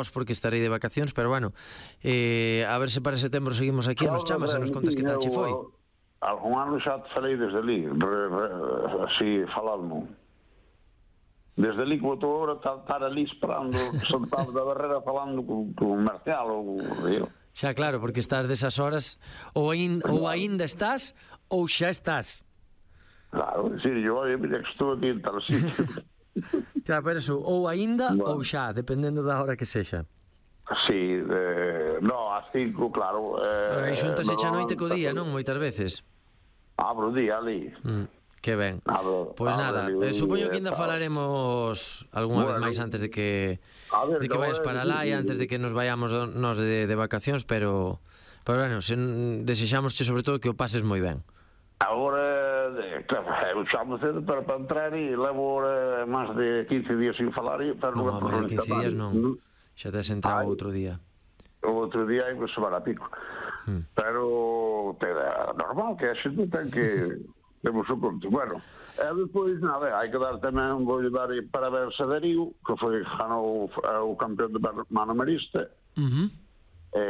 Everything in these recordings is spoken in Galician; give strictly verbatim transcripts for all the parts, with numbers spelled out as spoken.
vos porque estarei de vacacións, pero bueno, eh, a ver se para setembro seguimos aquí e nos chamas e nos contas que tal che foi. Algún ano xa te falei desde ali, re, re, así falando. Desde ali, como estou agora, estar ali esperando, sentado da barreira falando con, con Marcial ou eu. Xa claro, porque estás desas horas, ou, ain, ou aínda estás, ou xa estás. Claro, decir, yo, oye, mira que estou aquí en tal sitio. Claro, pero eso, ou aínda bueno. ou xa, dependendo da hora que sexa. Sí, eh, no, a cinco, claro. Eh, e xuntase xa noite co día, non? non? Moitas veces. Abro o día ali. Mm, que ben. Abro, pois abro nada, ali, eh, supoño que ainda tal. falaremos algunha bueno, vez máis antes de que ver, de que vayas para lá e antes de que nos vayamos nos de, de vacacións, pero pero bueno, se, desexámosche sobre todo que o pases moi ben. Agora, claro, eu chamo cedo para, para entrar e levo agora máis de quince días sin falar e pero Non, non, máis de quince días non. Xa tes entrado outro día. O outro día hai que semana pico. Hmm. Pero te, normal que a xente ten que temos o conto. Bueno, e depois, nada, hai que dar tamén, vou dar parabéns a Darío, que foi ganou o campeón de mano marista. Uh -huh. E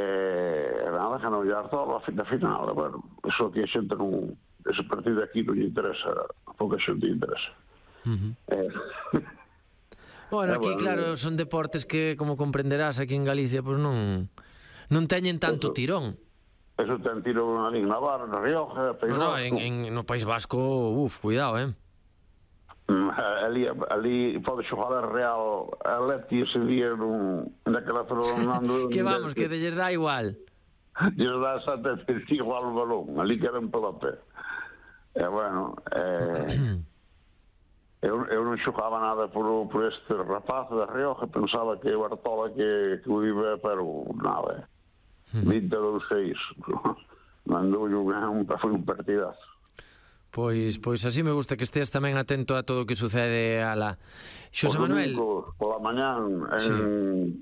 nada, ganou o Artola a final. Bueno, iso que a xente non, ese partido aquí non lle interesa, a pouca xente lle interesa. Uh -huh. eh, bueno, aquí, bueno, claro, son deportes que, como comprenderás, aquí en Galicia, pois pues non non teñen tanto eso, tirón. Eso ten tirón ali en Navarra, na Rioja, País no, no, Vasco. En, en, no País Vasco, uf, cuidado, eh. Ali, ali pode xogar a Real Atleti ese día nun, naquela zona. Que vamos, que lles dá igual. Lles dá exactamente igual o balón, ali que era en pelota. E bueno, eh, eu, eu non xogaba nada por, por este rapaz da Rioja, pensaba que o Artola que, que o iba, pero nada, vinte e dous seis. Mandou un, foi un partidazo. Pois pois así me gusta que estés tamén atento a todo o que sucede ala. Xosé Manuel, pola mañán en, sí.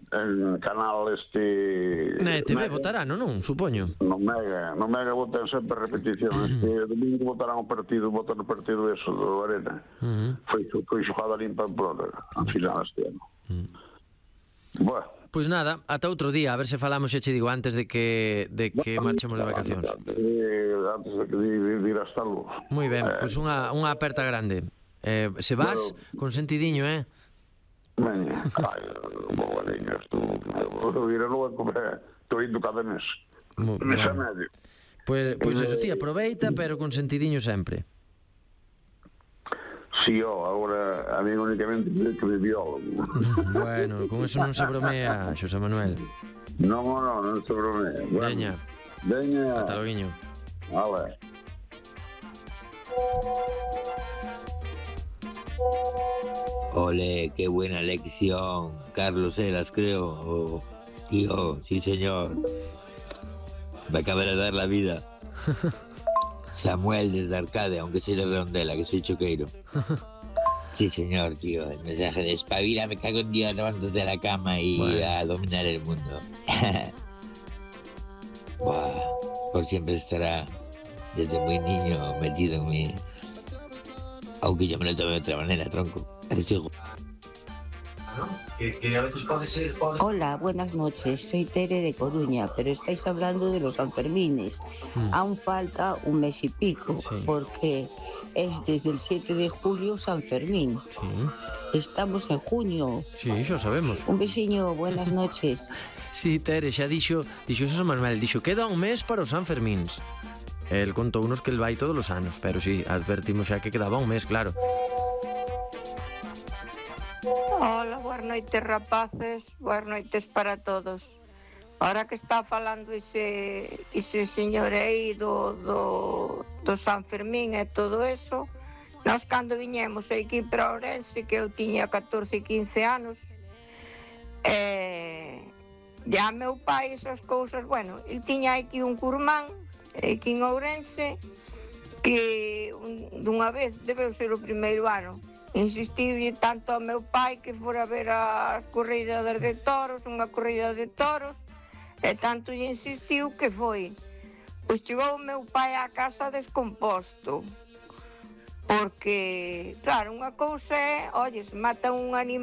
en canal este na E T V votarán, non, non, supoño. No Mega, no Mega votan sempre repetición. Este domingo votarán o partido, votan o partido eso do Arena. Uh -huh. Foi foi xogada limpa en Pamplona, a final este ano. Uh -huh. Bueno, pois nada, ata outro día, a ver se falamos, xa che digo, antes de que de que marchemos de vacacións. Antes de que de ir hasta luego. Moi ben, pois unha unha aperta grande. Eh, se vas con sentidiño, eh? Veña, ai, boa niña, estou ir a luego a comer, estou indo cada mes. Mes a medio. Pois pois eso, ti aproveita, pero con sentidiño sempre. Si, sí, oh, agora a mí únicamente que de biólogo. Bueno, con eso non se bromea, Xosé Manuel. Non, non, non se bromea. Bueno, veña. Veña. Ata loguiño. Vale. Ole, qué buena lección. Carlos Heras, creo. Oh, tío, sí, señor. Me acaba de dar la vida. Samuel desde Arcade, aunque soy de Redondela, que soy choqueiro. Sí, señor, tío. El mensaje de espabila, me cago en Dios, levántate de la cama y bueno, a dominar el mundo. Buah, por siempre estará desde muy niño metido en mí. Aunque yo me lo tomé de otra manera, tronco. Estoy... Que, que a veces puede ser... Puede... Hola, buenas noches. Soy Tere de Coruña, pero estáis hablando de los Sanfermines. Mm. Aún falta un mes y pico, sí, porque es desde el siete de julio San Fermín. Sí. Estamos en junio. Sí, xa sabemos. Un besiño, buenas noches. Sí, Tere, xa dixo, dixo Xosé Manuel, dixo, queda un mes para os San Fermíns. El contou unos que el vai todos os anos, pero sí, advertimos xa que quedaba un mes, claro. Hola, boas noites, rapaces, boas noites para todos. Ahora que está falando ese, ese señor aí do, do, do San Fermín e todo eso, nós cando viñemos aquí para Ourense, que eu tiña catorce, quince anos, e ya meu pai esas cousas, bueno, el tiña aquí un curmán, aquí en Ourense, que un, dunha vez, debeu ser o primeiro ano, insistiu tanto ao meu pai que fora ver as corridas de toros, unha corrida de toros, e tanto lle insistiu que foi. Pois chegou o meu pai á casa descomposto, porque, claro, unha cousa é, oye, se mata un animal